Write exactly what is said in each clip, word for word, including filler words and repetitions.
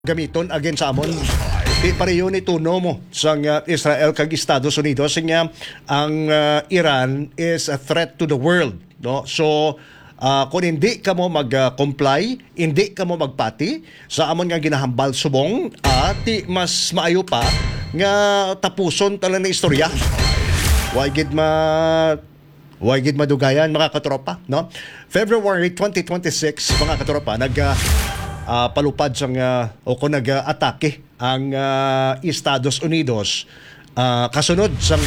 gamiton against sa amon. Di pareho ni tono mo sang, ah, Israel kag Estados Unidos nga ang, ah, Iran is a threat to the world, no? So, ah, kung hindi kamo mag, ah, comply, hindi kamo magpati sa amon nga ginahambal subong, ah, ti mas maayo pa nga tapuson ta lang na istorya. Why gid ma Way gid madugayan, mga katropa, no? February twenty twenty-six, mga katropa, nag, ah, ah, palupad sang, ah, o kung nag, ah, atake ang, ah, Estados Unidos, ah, kasunod sang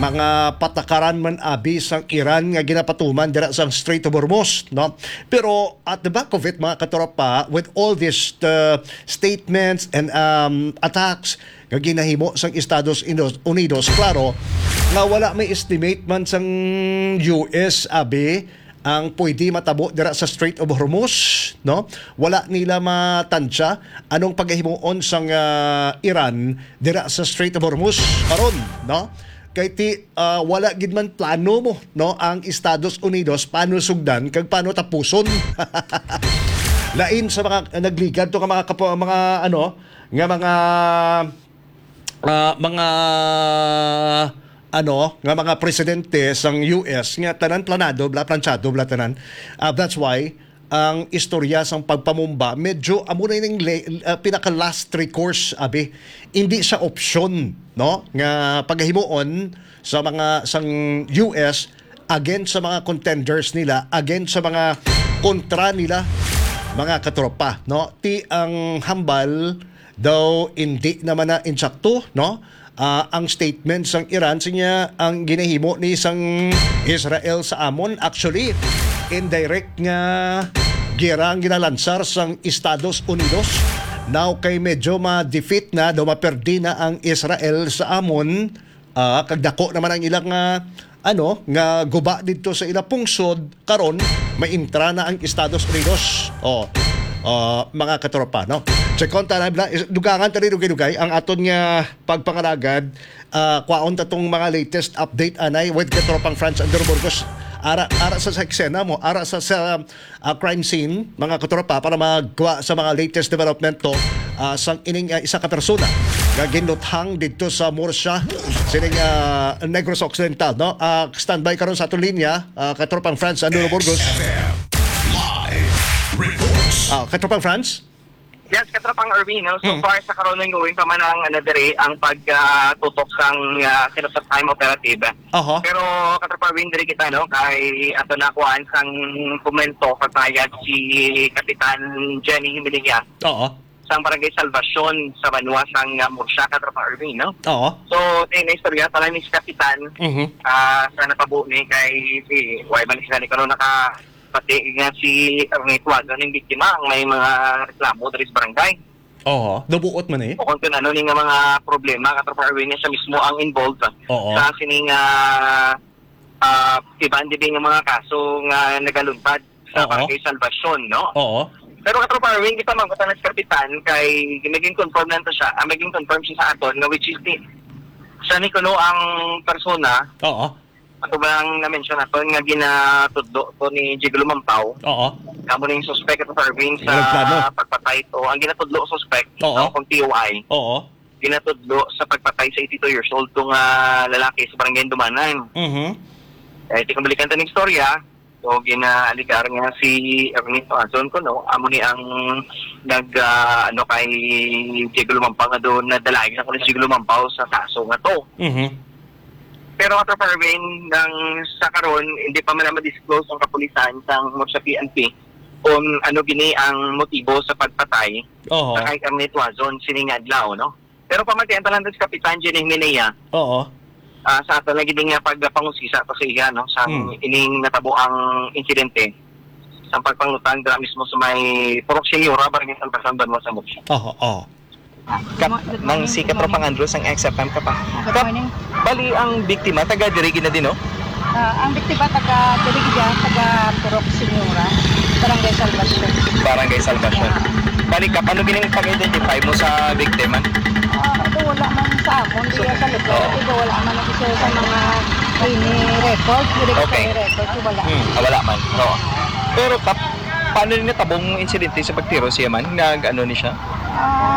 mga patakaran man abi sang Iran nga ginapatuman dira sang Strait of Hormuz, no? Pero at the back of it, mga katropa, with all these, uh, statements and, um, attacks, nga ginahimo sang Estados Unidos, Unidos, klaro nga wala may estimate man sang U S, abi, ang pwede matabo dira sa Strait of Hormuz, no? Wala nila matansya anong pagahimuon sang, ah, Iran dira sa Strait of Hormuz karon, no? Kay ti, ah, wala gid man plano mo, no, ang Estados Unidos paano sugdan kag paano tapuson. Lain sa mga nagligad to nga mga kapo-, mga, ano, nga mga, ah, mga, ano, nga mga presidente sang U S nga tanan planado, bla, planchado, bla, tanan. Ah, that's why ang istorya sang pagpamumba medyo amo na ning le-, ah, pinaka last recourse, abi. Hindi siya opsyon, no, nga pagahimuon sa mga sang U S against sa mga contenders nila, against sa mga kontra nila, mga katropa, no? Ti ang hambal daw hindi naman na insakto, no? Ah, ang statement sang Iran, sinya ang ginahimo ni sang Israel sa amon. Actually, indirect nga gera ang ginalansar sang Estados Unidos. Now kay medyo ma-defeat na, daw maperdi na ang Israel sa amon. Ah, kag dako naman ang ilang, ah, ano, nga guba didto sa ila pungsod, karon maintra na ang Estados Unidos. Oh, ah, mga katropa, no? Check on ta na, bla-, is-, dugangan ta ni dugay-dugay ang aton nga pagpangalagad. Ah, kwaon ta tong mga latest update anay with katropang Franz Andrew Burgos. Ara, ara sa, sa eksena mo, ara sa, sa ah, crime scene, mga katropa, para magkuha sa mga latest development to, ah, sang ining, ah, isa ka persona nga ginluthang didto sa Murcia, sining, ah, Negros Occidental, no? Ah, standby karon sa aton linya, ah, katropang Franz Andrew Burgos. Live reports. Ah, katropang Franz? Yes, katropang Erwin, no? So Mm. far sa karon, ongoing pa man ang, ano, diri, ang pag, ah, tutok sang, ah, Kinasat Time Operative. Oho. Pero, katropang Erwin, diri kita, no? Kay ato na kuhaan sang komento, pagpayag si Kapitan Jenny Himinaya Oo. sang Barangay Salvacion sa banwa sang, ah, Murcia, katropang Erwin, no? Oo. So, sa ina istorya, pala ni si Kapitan, Mhm. ah, sa natabo ni kay si, why man sila ni karon naka, pati nga si Ernesto Aguilar, ning biktima, ang may mga reklamo diri sa barangay. Oho, nabuot man eh. O kung ano ni nga mga problema, katropang Erwin, nga siya mismo ang involved Oo. sa sining, ah, ah, iban dibi nga mga kaso nga nagaluntad sa Oo. Barangay Salvacion, no? Oo. Pero katropang Erwin, kita man, kita na sa kapitan, kay naging confirm lang to siya, ah, naging confirm siya sa aton, nga which is ni, siya ni kuno ang persona Oo. Ato bang na-mention naton nga ginatudlo to ni Jiglo Mampaw? Oo. Kamo ning suspect at Parvin sa Nagplano. pagpatay to. Ang ginatudlo suspect, Oo. tawag kong T O I, Oo. ginatudlo sa pagpatay sa eighty-two years old tong, ah, lalaki sa Barangay Dumanan. Mhm. Eh, di kong balikan ta ning istorya. So, ginaaligar nga si Ernesto Azon ko, no? Amo ni ang nag, ah, ano, kay Diego Lumampaw nga doon, nadalagan ako ni Diego Lumampaw sa kaso nga to. Mhm. Pero, Attorney Parvin, nang sa karon, hindi pa man na ma-disclose ang kapulisan sang Murcia P N P kung ano gini ang motibo sa pagpatay Oho. sa kay Ernesto Azon sining adlaw, no? Pero pamatian pa lang sa Kapitan Jenny Minaya, Oo. ah, sa ato lagi din nga pagpangusisa pa sa iya, no, sa Hmm. ining natabo ang insidente sa pagpangutang dira mismo sa may Purok Senyora, Barangay Salvacion, Banwa sa Murcia. Oo, oo. Kap, Good morning, nang si good Katropang morning. Andrew sang X F M ka pa. Good Kap, morning. Bali ang biktima taga diri gina din, no? Ah, ang biktima taga diri gid, taga Purok Senyora, Barangay Salvacion. Barangay Salvacion. Yeah. Bali, Kap, ano gining pag-identify mo sa biktima? Ah, ito wala man sa amon, So, diya sa lugar. Oo. Ito wala man ang isa sa mga ini record, diri Okay. sa record, so wala. Hmm, ah, wala man. Oo. Pero, Kap, paano ni natabong insidente sa pagtiro siya man? Nag-ano ni siya? Ah,